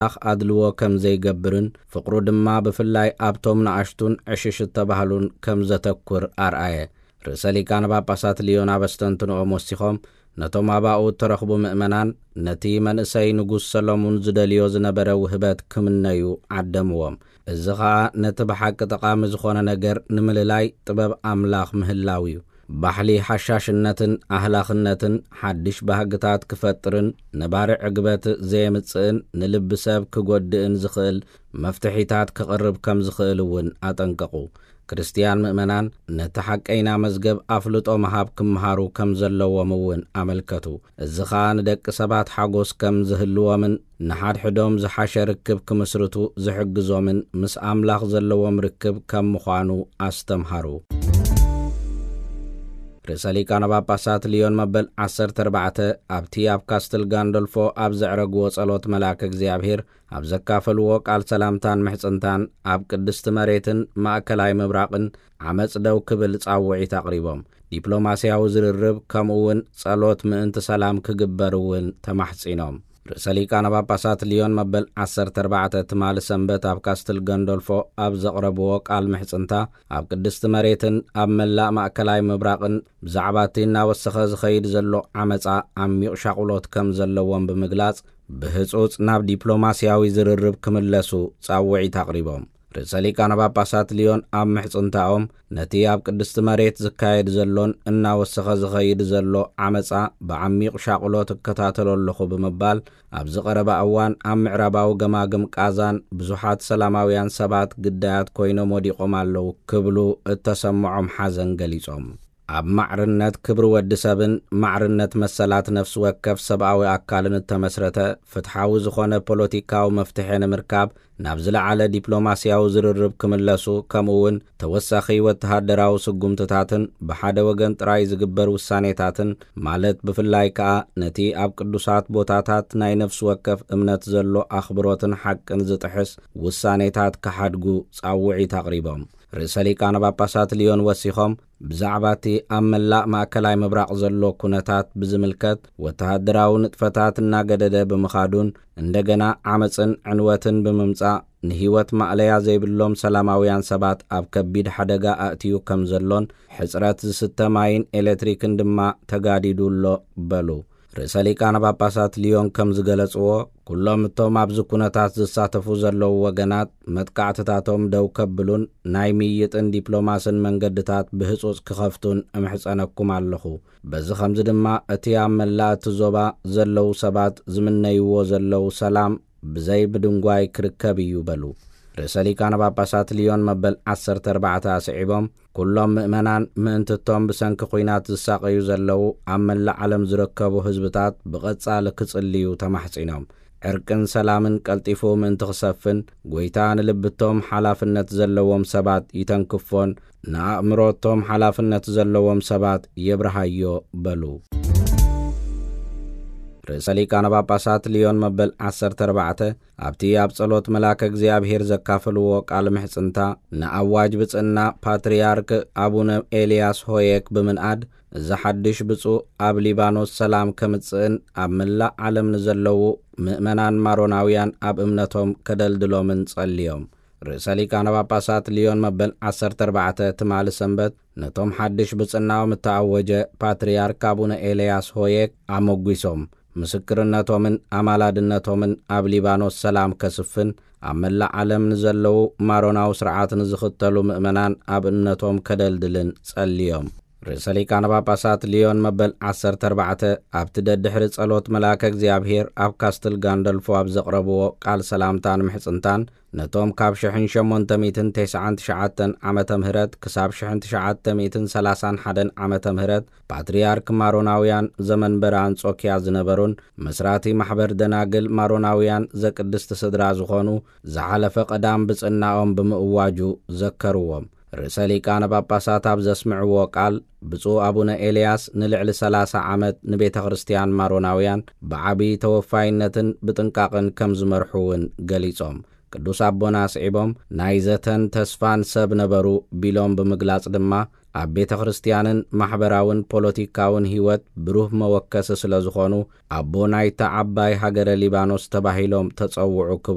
ኣምላኽ ኣድልዎ ከም ዘይገብርን ፍቕሩ ድማ ብፍላይ ኣብቶም ንኣሽቱን ዕሽሽ እተባህሉን ከም ዘተኩር ኣርኣየ። ርእሰ ሊቃነ ጳጳሳት ልዮን ኣብ ኣስተንትንኦም ወሲኾም፣ ነቶም ኣባኡ እተረኽቡ ምእመናን ነቲ መንእሰይ ንጉስ ሰሎሙን ዝደልዮ ዝነበረ ውህበት ክምነዩ ዓደምዎም። እዚ ኸኣ ነቲ ብሓቂ ጠቓሚ ዝኾነ ነገር ንምልላይ ጥበብ ኣምላኽ ምህላው እዩ። ባሕሊ ሓሻሽነትን ኣህላኽነትን ሓድሽ ባህግታት ክፈጥርን ነባሪ ዕግበት ዘየምጽእን ንልቢ ሰብ ክጎድእን ዝኽእል መፍትሒታት ክቕርብ ከም ዝኽእል እውን ኣጠንቀቑ። ክርስትያን ምእመናን ነቲ ሓቀይና መዝገብ ኣፍልጦ ምሃብ ክምሃሩ ከም ዘለዎም እውን ኣመልከቱ። እዚ ኸኣ ንደቂ ሰባት ሓጎስ ከም ዝህልዎምን ንሓድሕዶም ዝሓሸ ርክብ ክምስርቱ ዝሕግዞምን ምስ ኣምላኽ ዘለዎም ርክብ ከም ምዃኑ ኣስተምሃሩ። ርእሰ ሊቃነ ጳጳሳት ልዮን መበል ዓሰርተ ኣርባዕተ ኣብቲ ኣብ ካስትል ጋንዶልፎ ኣብ ዘዕረግዎ ጸሎት መልኣከ እግዚኣብሔር ኣብ ዘካፈልዎ ቃል ሰላምታን ምሕጽንታን ኣብ ቅድስቲ መሬትን ማእከላይ ምብራቕን ዓመጽ ደው ክብል ጻውዒት ኣቕሪቦም። ዲፕሎማስያዊ ዝርርብ ከምኡ እውን ጸሎት ምእንቲ ሰላም ክግበር እውን ተማሕጺኖም። ርእሰ ሊቃነ ጳጳሳት ልዮን መበል ዓሰርተ ኣርባዕተ ትማሊ ሰንበት ኣብ ካስትል ገንዶልፎ ኣብ ዘቕረብዎ ቃል ምሕጽንታ ኣብ ቅድስቲ መሬትን ኣብ መላእ ማእከላይ ምብራቕን ብዛዕባ እቲ እናወሰኸ ዝኸይድ ዘሎ ዓመጻ ዓሚቕ ሻቕሎት ከም ዘለዎም ብምግላጽ ብህጹጽ ናብ ዲፕሎማስያዊ ዝርርብ ክምለሱ ጻውዒት ኣቕሪቦም። ርእሰ ሊቃነ ጳጳሳት ልዮን ኣብ ምሕጽንታኦም ነቲ ኣብ ቅድስቲ መሬት ዝካየድ ዘሎን እናወሰኸ ዝኸይድ ዘሎ ዓመጻ ብዓሚቕ ሻቕሎት እከታተሎ ኣለኹ ብምባል ኣብዚ ቀረባ እዋን ኣብ ምዕራባዊ ገማግም ቃዛን ብዙሓት ሰላማውያን ሰባት ግዳያት ኮይኖም ወዲቖም ኣለዉ ክብሉ እተሰምዖም ሓዘን ገሊጾም። ኣብ ማዕርነት ክብሪ ወዲ ሰብን ማዕርነት መሰላት ነፍሲ ወከፍ ሰብኣዊ ኣካልን እተመስረተ ፍትሓዊ ዝኾነ ፖለቲካዊ መፍትሒ ንምርካብ ናብ ዝለዓለ ዲፕሎማስያዊ ዝርርብ ክምለሱ፣ ከምኡ እውን ተወሳኺ ወተሃደራዊ ስጉምትታትን ብሓደ ወገን ጥራይ ዝግበር ውሳኔታትን፣ ማለት ብፍላይ ከኣ ነቲ ኣብ ቅዱሳት ቦታታት ናይ ነፍሲ ወከፍ እምነት ዘሎ ኣኽብሮትን ሓቅን ዝጥሕስ ውሳኔታት ክሓድጉ ጻውዒት ኣቕሪቦም። ርእሰ ሊቃነ ጳጳሳት ልዮን ወሲኾም፣ ብዛዕባ እቲ ኣብ መላእ ማእከላይ ምብራቕ ዘሎ ኩነታት ብዝምልከት ወተሃደራዊ ንጥፈታት እናገደደ ብምኻዱን እንደገና ዓመጽን ዕንወትን ብምምጻእ ንህይወት ማእለያ ዘይብሎም ሰላማውያን ሰባት ኣብ ከቢድ ሓደጋ ኣእትዩ ከም ዘሎን ሕጽረት ዝስተ ማይን ኤሌክትሪክን ድማ ተጋዲዱ ኣሎ በሉ። ርእሰ ሊቃነ ጳጳሳት ልዮን ከም ዝገለጽዎ፣ ኩሎም እቶም ኣብዚ ኩነታት ዝሳተፉ ዘለዉ ወገናት መጥቃዕትታቶም ደው ከብሉን ናይ ምይይጥን ዲፕሎማስን መንገድታት ብህጹጽ ክኸፍቱን እምሕጸነኩም ኣለኹ። በዚ ኸምዚ ድማ እቲ ኣብ መላእ እቲ ዞባ ዘለዉ ሰባት ዝምነይዎ ዘለዉ ሰላም ብዘይ ምድንጓይ ክርከብ እዩ በሉ። ርእሰ ሊቃነ ጳጳሳት ልዮን መበል ዓሰርተ ኣርባዕተ ኣስዒቦም፣ ኩሎም ምእመናን ምእንቲ እቶም ብሰንኪ ኲናት ዝሳቐዩ ዘለዉ ኣብ መላእ ዓለም ዝርከቡ ህዝብታት ብቐጻሊ ክጽልዩ ተማሕጺኖም። ዕርቅን ሰላምን ቀልጢፉ ምእንቲ ክሰፍን፣ ጐይታ ንልብቶም ሓላፍነት ዘለዎም ሰባት ይተንክፎን ንኣእምሮቶም ሓላፍነት ዘለዎም ሰባት የብርሃዮ በሉ። ርእሰ ሊቃነ ጳጳሳት ልዮን መበል ዓሰርተ ኣርባዕተ ኣብቲ ኣብ ጸሎት መልኣከ እግዚኣብሔር ዘካፈልዎ ቃል ምሕጽንታ፣ ንኣዋጅ ብጽና ፓትርያርክ ኣቡነ ኤልያስ ሆየክ ብምንኣድ፣ እዚ ሓድሽ ብፁዕ ኣብ ሊባኖስ ሰላም ከምጽእን ኣብ መላእ ዓለም ንዘለዉ ምእመናን ማሮናውያን ኣብ እምነቶም ከደልድሎምን ጸልዮም። ርእሰ ሊቃነ ጳጳሳት ልዮን መበል ዓሰርተ ኣርባዕተ ትማሊ ሰንበት ነቶም ሓድሽ ብጽናኦም እተኣወጀ ፓትርያርክ ኣቡነ ኤልያስ ሆየክ ኣመጒሶም፣ ምስክርነቶምን ኣማላድነቶምን ኣብ ሊባኖስ ሰላም ከስፍን ኣብ መላእ ዓለም ንዘለዉ ማሮናዊ ስርዓት ንዝኽተሉ ምእመናን ኣብ እምነቶም ከደልድልን ጸልዮም። ርእሰ ሊቃነ ጳጳሳት ልዮን መበል ዓሰርተ ኣርባዕተ ኣብቲ ደድሕሪ ጸሎት መልኣከ እግዚኣብሔር ኣብ ካስትል ጋንደልፎ ኣብ ዘቕረብዎ ቃል ሰላምታን ምሕጽንታን፣ ነቶም ካብ ሽሕን ሸሞንተ ሚእትን ተስዓን ትሽዓተን ዓመተ ምህረት ክሳብ ሽሕን ትሽዓተ ሚእትን ሰላሳን ሓደን ዓመተ ምህረት ፓትርያርክ ማሮናውያን ዘመንበረ ኣንጾኪያ ዝነበሩን መስራቲ ማሕበር ደናግል ማሮናውያን ዘቅድስቲ ስድራ ዝኾኑ ዝሓለፈ ቀዳም ብጽናኦም ብምእዋጁ ዘከርዎም። ርእሰ ሊቃነ ጳጳሳት ኣብ ዘስምዕዎ ቃል፣ ብፁዕ ኣቡነ ኤልያስ ንልዕሊ ሰላሳ ዓመት ንቤተ ክርስቲያን ማሮናውያን ብዓቢ ተወፋይነትን ብጥንቃቕን ከም ዝመርሑ እውን ገሊጾም። ቅዱስ ኣቦና ኣስዒቦም ናይ ዘተን ተስፋን ሰብ ነበሩ ቢሎም ብምግላጽ ድማ ኣብ ቤተ ክርስቲያንን ማሕበራውን ፖለቲካውን ህይወት ብሩህ መወከሲ ስለ ዝኾኑ ኣቦ ናይታ ዓባይ ሃገረ ሊባኖስ ተባሂሎም ተጸውዑ